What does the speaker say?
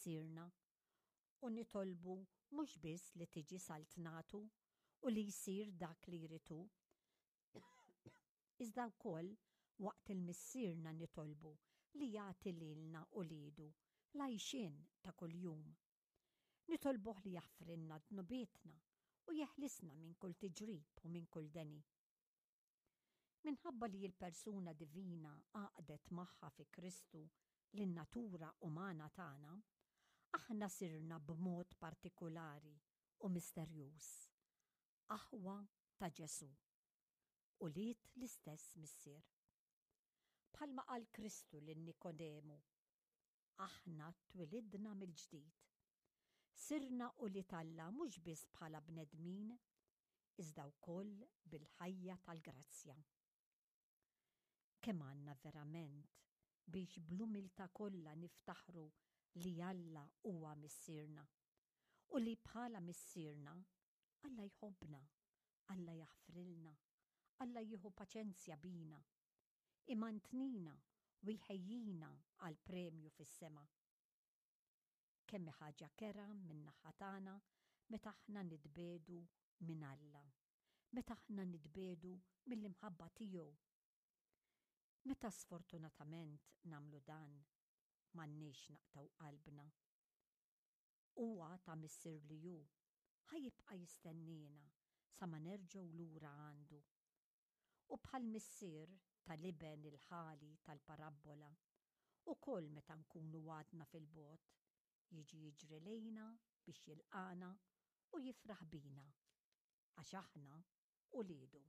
Missierna u nitolbu mhux biss li tiġi saltnatu u li jsir dak li jrid hu, iżda wkoll waqt il-Missierna nitolbu li jagħti lilna uliedu l-għajxien ta' kuljum. Nitolbuh li jaħfrilna dnubietna u jeħlisna minn kull tiġrib u minn kull deni. Minħabba li l-persuna divina għaqdet magħha fi Kristu lin-natura umana tagħna, aħna sirna b'mod partikulari u misterjuż aħwa ta' Ġesù, ulied l-istess Missier. Bħalma qal Kristu lil Nikodemu, Aħna twilidna mill-ġdid. Sirna ulied Alla mhux biss bħala bnedmin, iżda wkoll bil-ħajja tal-grazzja. Kemm għandna verament biex bl-umiltà kollha niftaħru li Alla huwa Missierna u li bħala Missierna, Alla jħobbna, Alla jaħfrilna, Alla jieħu paċenzja bina, imantnina u jħejjina għal premju fis-sema. Kemm hi ħaġa kerha min-naħa tagħna meta aħna nitbiegħdu minn Alla, meta aħna nitbiegħdu mill-imħabba tiegħu. Meta sfortunatament nagħmlu dan, m'għandniex naqtgħu qalbna. Huwa ta' Missier li hu, ħa jibqa' jistenniena sa ma nerġgħu lura għandu. U bħall-missier tal-iben il-ħali tal-parabbola, ukoll meta nkunu għadna fil-bogħod, jiġi jiġri lejna biex jilqagħna u jifraħ bina, għax aħna uliedu.